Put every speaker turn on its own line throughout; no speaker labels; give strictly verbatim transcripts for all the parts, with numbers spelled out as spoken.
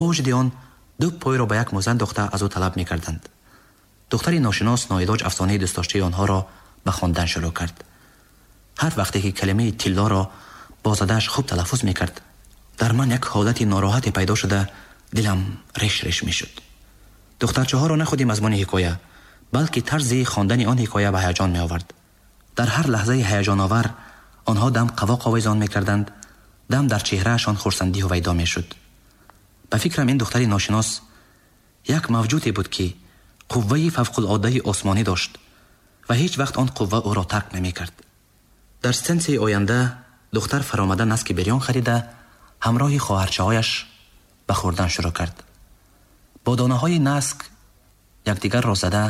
Вуҷуди он ду пойро ба як мӯза андохта аз ӯ талаб мекарданд. Духтари ношинос ноилоҷ афсонаи дӯстдоштаи онҳоро ба хондан шурӯъ кард. Ҳар вақте ки калимаи тиллоро бо задааш хуб талаффуз мекард, дар ман як ҳолати нороҳате пайдо шуда, дилам реш реш мешуд. Духтарчаҳоро на худи мазмуни ҳикоя, балки тарзи хондани он ҳикоя ба ҳаяҷон меовард. Дар ҳар лаҳзаи ҳаяҷоновар онҳо дам қавоқ овезон мекарданд, дам дар чеҳраашон хурсандӣ ҳувайдо мешуд. Ба фикрам, ин духтари ношинос як мавҷуде буд, ки қувваи фавқулодаи осмонӣ дошт ва ҳеҷ вақт он қувва ӯро тарк намекард. Дар стенсияи оянда духтар фаромада наски бирён харида, ҳамроҳи хоҳарчаҳояш ба хӯрдан шурӯъ кард. Бо донаҳои наск якдигарро зада,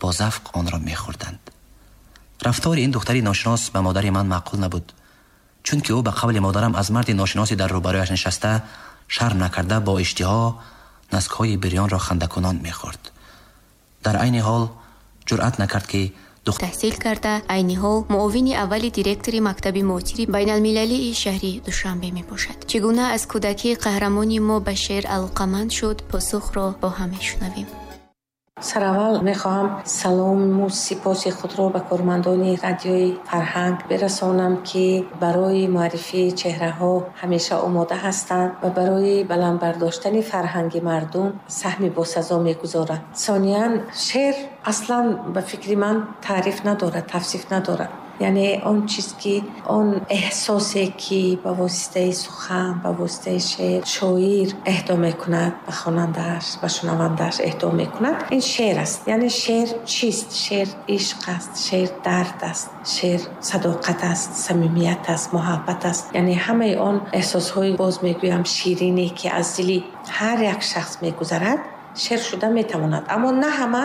бо завқ онро мехӯрданд. Рафтори ин духтари ношинос ба модари ман маъқул набуд, чунки ӯ ба қавли модарам аз марди ношиноси дар рӯбарӯяш нишаста шарм накарда, бо иштиҳо наскҳои бирёнро хандакунон мехӯрд. Дар айни ҳол ҷуръат накард, ки
таҳсил карда, айни ҳол муовини аввали директори мактаби муосири байналмилалии шаҳри Душанбе мебошад. Чӣ гуна аз кӯдакӣ қаҳрамони мо ба шеър алоқаманд шуд, посухро бо ҳам мешунавем.
Сараввал мехоҳам салому сипоси худро ба кормандони радиои Фарҳанг бирасонам, ки барои муаррифии чеҳраҳо ҳамеша омода ҳастанд ва барои баланд бардоштани фарҳанги мардум саҳми босазо мегузоранд. Сониян, шеър аслан ба фикри ман таъриф надорад, тавсиф надорад. Яъне он чиз ки, он эҳсосе ки ба воситаи сухан, ба воситаи шеър шоир эҳдо мекунад ба хонандааш, ба шунавандааш эҳдо мекунад, ин шеър аст. Яъне шеър чист? Шеър ишқ аст, шеър дард аст, шеър садоқат аст, самимият аст, муҳаббат аст. Яъне ҳамаи он эҳсосҳои, боз мегӯям, ширине ки аз дили ҳар як шахс мегузарад, шеър шуда метавонад. Аммо на ҳама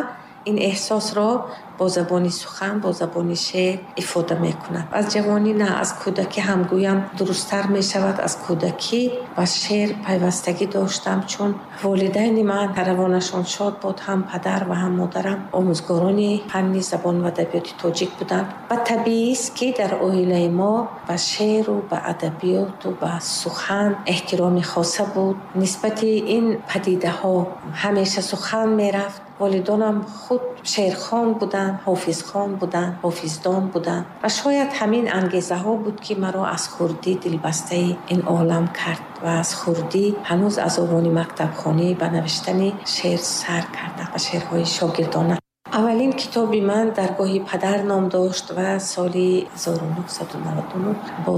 ин эҳсосро бо забони сухан, бо забони шеър ифода мекунад. Аз ҷавонӣ на, аз кӯдакӣ ҳам гӯям дурусттар мешавад, аз кӯдакӣ ба шеър пайвастагӣ доштам, чун волидайни ман равонашон шод буд, ҳам падар ва ҳам модарам омӯзгорони фанни забон ва адабиёти тоҷик буданд. Ва табиист, ки дар оилаи мо ба шеъру ба адабиёту ба сухан эҳтироми хоса буд. Нисбати ин падидаҳо ҳамеша сухан мерафт. Волидонам худ шеърхон буданд, ҳофизхон буданд, ҳофиздон буданд ва шояд ҳамин ангезаҳо буд, ки маро аз хурдӣ дилбастаи ин олам кард ва аз хурдӣ ҳанӯз аз овони мактабхонӣ ба навиштани шеър сар кардам, ба шеърҳои шогирдона. Аввалин китоби ман «Даргоҳи падар» ном дошт ва соли ҳазору нӯҳсаду наваду нӯҳ бо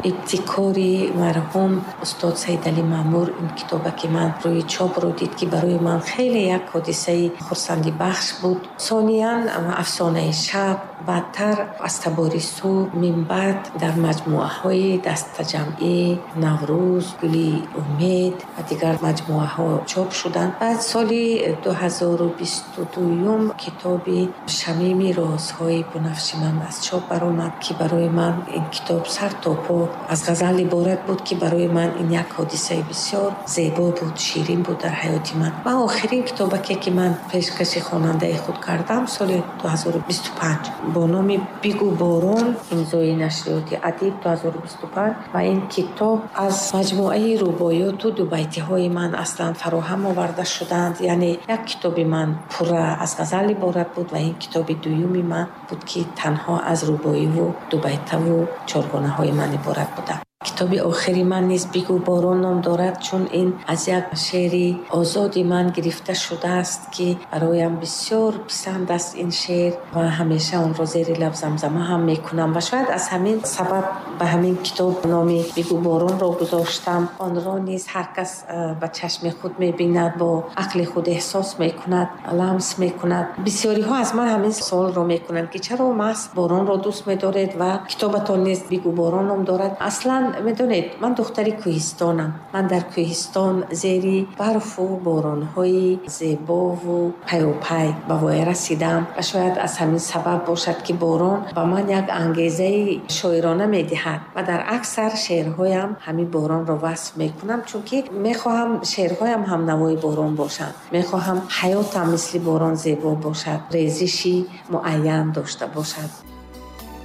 ибтикори марҳум устод Саидалӣ Маъмур ин китоба ки ман рӯи чопро дид, ки барои ман хеле як ҳодисаи хурсандибахш буд. Сониян «Афсонаи шаб», баъдтар «Аз табори субҳ», минбаъд дар маҷмӯаҳои дастаҷамъӣ «Наврӯз», «Гули умед» ва дигар маҷмӯаҳо чоп шуданд. Баъд соли дуҳазору бисту дуюм китоби «Шамими розҳои бунафши ман» аз чоп баромад, ки барои ман ин китоб сар то по аз ғазал иборат буд, ки барои ман ин як ҳодисаи бисёр зебо буд, ширин буд дар ҳаёти ман. Ва охирин китобаке ки ман пешкаши хонандаи худ кардам, соли дуҳазору бисту панҷ бо номи «Бигӯ борон», имзои нашриёти «Адиб», дуҳазору бисту панҷ. Ва ин китоб аз маҷмӯаи рубоёту дубайтиҳои ман аслан фароҳам оварда шуданд. Яъне як китоби ман пурра аз ғазал иборат буд ва ин китоби дуюми ман буд, ки танҳо аз рубоиву дубайтаву чоргонаҳои ман иборат буданд. Китоби охири ман низ «Бигӯ борон» ном дорад, чун ин аз як шеъри озоди ман гирифта шудааст, ки бароям бисёр писанд аст ин шеър ва ҳамеша онро зери лаб замзама ҳам мекунам ва шояд аз ҳамин сабаб ба ҳамин китоб номи «Бигӯ боронро» гузоштам. Онро низ ҳар кас ба чашми худ мебинад, бо ақли худ эҳсос мекунад, ламс мекунад. Бисёриҳо аз ман ҳамин суолро мекунанд, ки чаро маҳз боронро дӯст медоред ва китобатон низ «Бигӯ борон» ном дорад. Аслан медонед, ман духтари кӯҳистонам. Ман дар кӯҳистон зери барфу боронҳои зебову пайопай ба воя расидам ва шояд аз ҳамин сабаб бошад, ки борон ба ман як ангезаи шоирона медиҳад ва дар аксар шеърҳоям ҳамин боронро васф мекунам, чунки мехоҳам шеърҳоям ҳам навои борон бошанд, мехоҳам ҳаётам мисли борон зебо бошад, резиши муайян дошта бошад.